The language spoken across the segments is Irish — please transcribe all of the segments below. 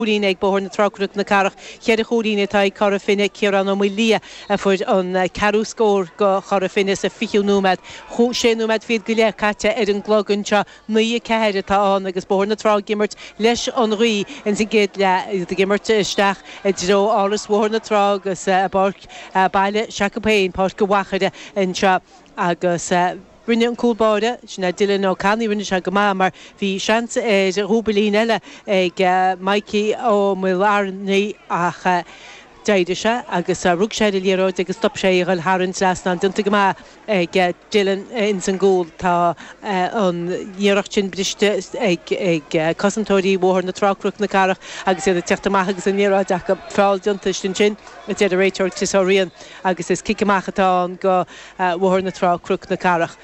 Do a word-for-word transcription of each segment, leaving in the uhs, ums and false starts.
Chúilín ag Bóthar na Trá Cnoc na Cathrach, ceithre chúilín atá ag Cora Finne, Ciarán Ó Maoildhia a fuair an ceathrú scór do Chora Finne sa fichiú nóiméad. Sé nóiméad fichead go leith caite ar an gclog anseo, naoi a ceathair atá ann agus Bóthar na Trá ag imirt leis an ghaoth ins an gcéad leath, iad ag imirt isteach i dtreo Áras Bhóthar na Trá agus a bpáirc baile s'acu féin, Páirc an Mhachaire anseo agus. Rinne an cúl báire, sin é Dylan Ó Ceannaigh, rinne sé go maith mar bhí seans ar dhúbailín eile ag Mikey Ó Maoilearnaí ach d'éirigh sé agus rug sé ar an liathróid agus stop sé í a dhul thar an trasnán. Déanta go maith ag Dylan ins an gcúl. Tá an iarracht sin briste ag cosantóirí Bhóthar na Trá Cnoc na Cathrach agus iad ag teacht amach agus an liathróid acu. Feall déanta ansin, a deir an réiteoir Chris Ó Riain agus is cic amach atá ann go Bhóthar na Trá, Cnoc na Cathrach.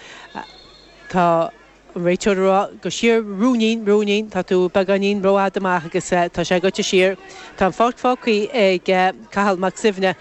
Tá an réiteoir ag rá gabh siar ruainnín, ruainnín, tá tú beagáinín rófhada amach agus tá sé goite siar. Tá an pháirc fágtha ag Cathal Mac Suibhne.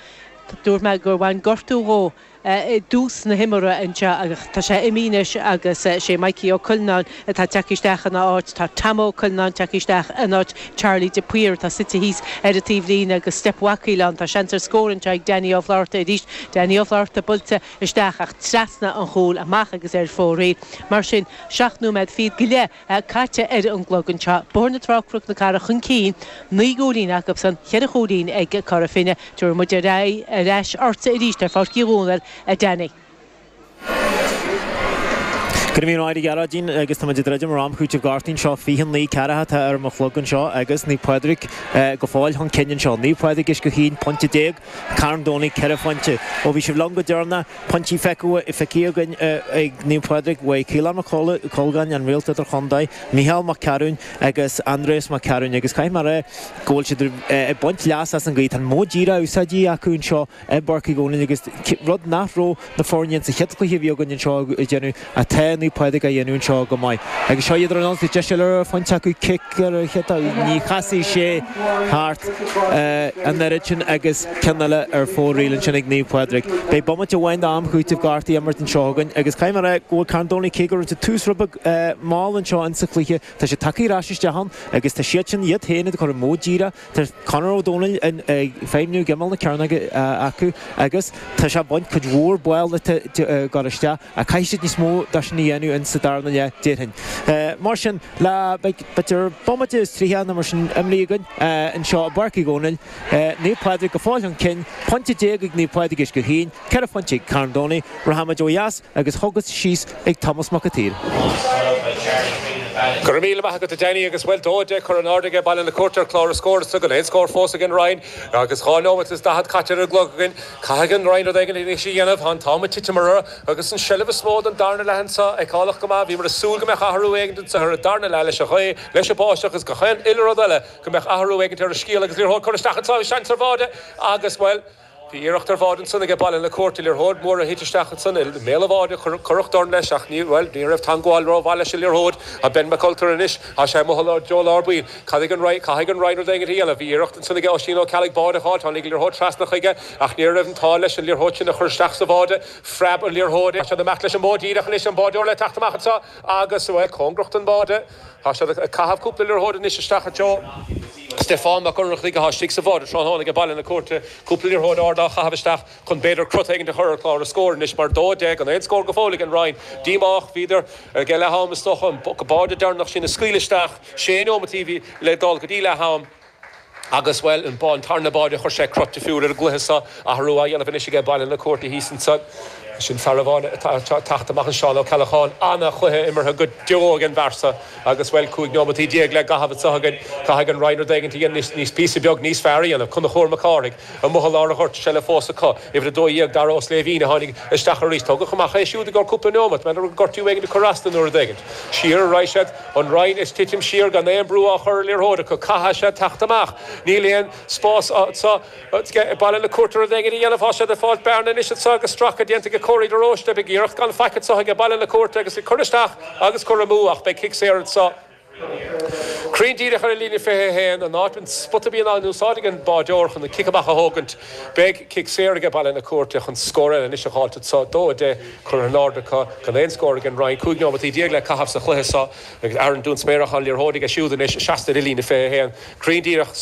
Dúirt mé gur bhain gortú dhó i dtús na himeartha anseo ach tá sé imithe anois agus sé Mikey Ó Cuilleanáin atá tagtha isteach ina áit. Tá Tom Ó Cuilleanáin tagtha isteach in áit Charlie de Paor atá suite thíos ar an taobhlíne agus steip bhacaíl ann. Tá seans ar scór anseo ag Danny Ó Flatharta arís. Danny Ó Flatharta buailte isteach ach trasna an chúil amach agus ar fóraoil. Mar sin, seacht nóiméad fichead go leith caite ar an gclog anseo. Bóthar na Trá, Cnoc na Cathrach chun cinn, naoi gcúilín acusan, cheithre chúilín ag Cora Finne. Tabharfaidh muid ar aghaidh ar ais ortsa arís ar Pháirc Uí Dhónaill, a Danny. Go raibh míle maith agat, a Ghearóidín, agus tá muid ag druidim ar am chúitimh gortaithe anseo, fiche naoi ceathracha atá ar mo chlog anseo agus Naomh Pádraig go fóill chun cinn anseo. Naomh Pádraig Uisce Chaoin, pointe déag, Carn Domhnach, ceithre phointe. Ó bhí sibh liom go deireanach, pointí feicthe againn ag Naomh Pádraig uaidh Caolán Mac Colgáin, an réalt idirchontae, Mícheál Mac Cearúin agus Aindrias Mac Cearúin agus caithfidh mé a rá go bhfuil siad ag baint leas as an ghaoth. Tá an modh díreach úsáidte acu anseo i bPáirc Uí Dhónaill agus rud nach raibh na foirne sa chéad chluiche a bhí againn anseo ag déanamh atá Naomh Pádraig á dhéanamh anseo go maith. Agus seo iad ar an ionsaí, deis eile ar phointe acu, cic ar an chéad ní chasfaidh sé thart an oiread sin agus ceann eile ar fóraoil ansin ag Naomh Pádraig. Beidh bomaite amháin d'am chúitimh gortaithe imirt anseo againn agus caithfidh mé a rá go bhfuil Carn Domhnach, cé go raibh siad tús rud beag mall anseo insa chluiche, tá siad tagtha ar ais isteach ann agus tá siad sin iad féin ag cur an modh díreach. Tá Conor Ó Domhnaill ag feidhmiú ag imeall na cearnóige acu agus tá sé ag baint cuid mhór ball ag dul isteach ach caithfidh siad níos mó de sin a dhéanamh in sa darna leath déarfainn. Mar sin, le b'fhéidir bomaite is tríocha nó mar sin imeartha againn anseo i bPáirc Uí Dhónaill, Naomh Pádraig go fóill chun cinn, pointe déag ag Naomh Pádraig Uisce Chaoin, ceithre phointe ag Carn Domhnach, rachaimid ó dheas agus chugat síos ag Tomás Mac an tSaoir. Go raibh míle maith agat a Danny agus bhuel dó deich curtha in airde ag Baile na Cúirte ar chlár na scór is gan aon scór fós ag an Rinn agus dhá nóiméad is daichead caite ar an gclog againn. Caithfidh an Rinn rud éigin anois a dhéanamh. Tá an t-am ag titim orthu agus an seilbh is mó don darna leath anseo feiceálach go maith. Bhíomar ag súil go mbeadh athrú éigin anseo ar an darna leath leis an ghaoth, leis an báisteach agus gach aon uile rud eile go mbeadh athrú éigin ar an scéal agus liathróid curtha isteach anseo seans ar bháide agus bhuel Bhí iarracht ar bháide ansan aige Baile na Cúirte, liathróid mhór a thit isteach ansan i mbéal an bháide, cuireadh dorn leis ach ní, bhuel, ní raibh teangmháil rómhaith leis an liathróid. Tá Ben Mac Ultair anois, tá sé amuigh i dtreo lár baill. Caithfidh an Rinn, caithfidh an Rinn rud éigin a dhéanamh. Bhí iarracht ansan aige Oisín Ó Ceallaigh báide a fháil, tháinig an liathróid trasna chuige ach ní raibh an t-ádh leis an liathróid sin a chur isteach sa bháide. Phreab an liathróid. Tá siad ag imeacht leis an modh díreach anois, an báideoir le teacht amach anseo agus, bhuel, cóngarach don bháide. Tá siad ag caitheamh cúpla liathróid anois isteach i dtreo Stiofán Mac Ionnrachtaigh atá istigh sa bháide tráthnóna ag Baile na Cúirte. Cúpla liathróid ard á chaitheamh isteach chun b'fhéidir crot éigin a chur ar chlár na scór anois mar dó deich gan aon scór go fóill ag an Rinn. Díomách, bhíodar ag leath am is dócha an báide deireanach sin a scaoileadh isteach sé nóimeataí le dul go dtí leath am. Agus, bhuel, an tarna báide, chuir sé crot difriúil ar an gcluiche seo, athrú á dhéanamh anois aige Baile na Cúirte thíos anso. Sin fear amháin atá ag teacht amach anseo, Seán Ó Ceallacháin. Ana-chluiche imeartha go deo ag an bhfear seo agus, bhuel, cúig neomataí déag le gcaitheamh anseo againn. Caithfidh an Rinn rud éigin a dhéanamh níos, píosa beag níos fearr a dhéanamh. Conchúr Mac Cárthaigh amuigh i lár an ghoirt, seilbh fós acu. Uimhir a dó dhéag, Dara Ó Sléibhín, a tháinig isteach arís. Tógadh amach é siúd i gcomhair cúpla neomat, b'fhéidir gortú éigin ag cur as dó nó rud éigin. Siar a raghaidh siad, an Rinn ag titim siar gan aon brú á chur ar liathróid acu. Caithfidh siad teacht amach. Níl aon spás anseo ag Baile na Cúirte rud éigin a dhéanamh. Tá siad ag fáilt bearna anois anseo agus stracadh déanta ag Corey de Róiste. Beidh iarracht gan faic anseo ag Baile na Cúirte agus ag cur isteach agus cur amú ach beidh cic saor anseo. Cruinn díreach ar an líne fiche haon an áit an spota bíonn á úsáid ag an báideoir chun an cic amach a thógaint. Beidh cic saor ag Baile na Cúirte chun scór eile anois a fháilt so dó a deich curtha in airde acu gan aon scór ag an Rinn cúig nóimeataí déag le caitheamh sa chluiche seo agus Aaron Dún Spéireach an liathróid aige siúd anois seasta ar líne fiche haon. Cruinn díreach